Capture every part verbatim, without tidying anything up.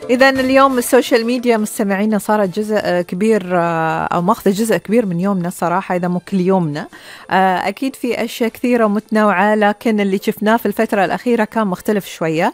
إذا اليوم السوشيال ميديا مستمعينا صارت جزء كبير أو ماخذ جزء كبير من يومنا صراحة، إذا مو كل يومنا. أكيد في أشياء كثيرة ومتنوعة، لكن اللي شفناه في الفترة الأخيرة كان مختلف شوية.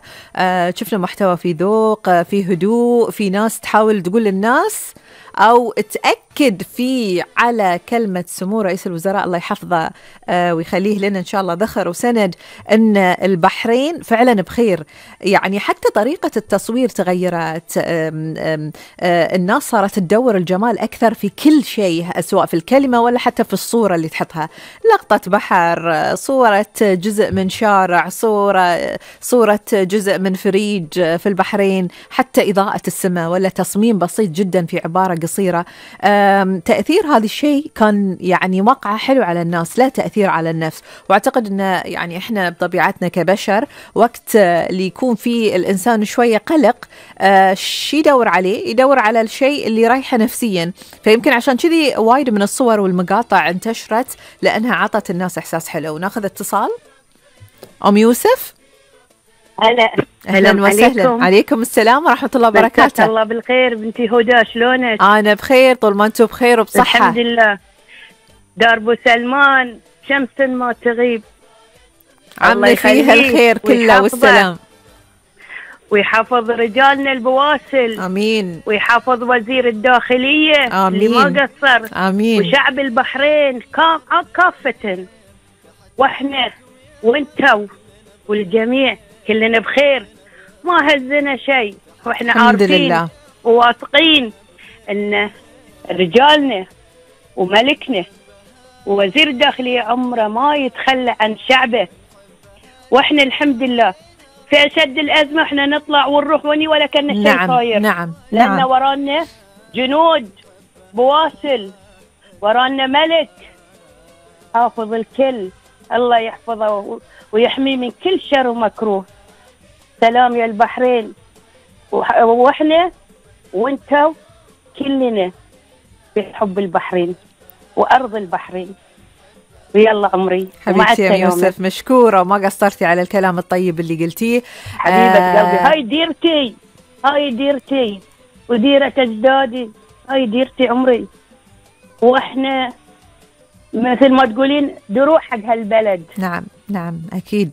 شفنا محتوى في ذوق، في هدوء، في ناس تحاول تقول للناس أو تأكد فيه على كلمة سمو رئيس الوزراء الله يحفظه ويخليه لنا إن شاء الله ذخر وسند، أن البحرين فعلا بخير. يعني حتى طريقة التصوير تغيرت، أم أم الناس صارت تدور الجمال أكثر في كل شيء، سواء في الكلمة ولا حتى في الصورة اللي تحطها. لقطة بحر، صورة جزء من شارع، صورة صورة جزء من فريج في البحرين، حتى إضاءة السماء ولا تصميم بسيط جدا في عبارة قصيرة. تأثير هذا الشيء كان يعني وقعة حلو على الناس، لا تأثير على النفس. واعتقد أن يعني إحنا بطبيعتنا كبشر وقت اللي يكون فيه الإنسان شوية قلق، شي يدور عليه، يدور على الشيء اللي رايحه نفسيا. فيمكن عشان كذي وايد من الصور والمقاطع انتشرت، لأنها عطت الناس إحساس حلو. ناخذ اتصال. أم يوسف، هلا. أهلا وسهلا. عليكم. عليكم السلام ورحمة الله وبركاته. الله بالخير بنتي هدى، شلونك؟ أنا بخير طول ما أنتم بخير وبصحة. الحمد لله. دار سلمان شمس ما تغيب، عمي فيها الخير كله والسلام، ويحفظ رجالنا البواسل. آمين. ويحفظ وزير الداخلية آمين. اللي ما قصر. آمين. وشعب البحرين كافة، واحنا وانتو والجميع كلنا بخير، ما هزنا شيء، واحنا عارفين وواثقين ان رجالنا وملكنا ووزير الداخلية عمره ما يتخلى عن شعبه. واحنا الحمد لله في أشد الأزمة احنا نطلع ونروح وني ولا كنا شيء نعم صاير. نعم لأن نعم. ورانا جنود بواسل، ورانا ملك حافظ الكل، الله يحفظه ويحميه من كل شر ومكروه. سلام يا البحرين، واحنا وانتو كلنا في حب البحرين وأرض البحرين. ويلا عمري حبيبتي يا يوسف، مشكورة وما قصرتي على الكلام الطيب اللي قلتيه. حبيبة آه قلبي، هاي ديرتي، هاي ديرتي وديرة أجدادي، هاي ديرتي عمري. واحنا مثل ما تقولين دروح حق هالبلد. نعم نعم أكيد.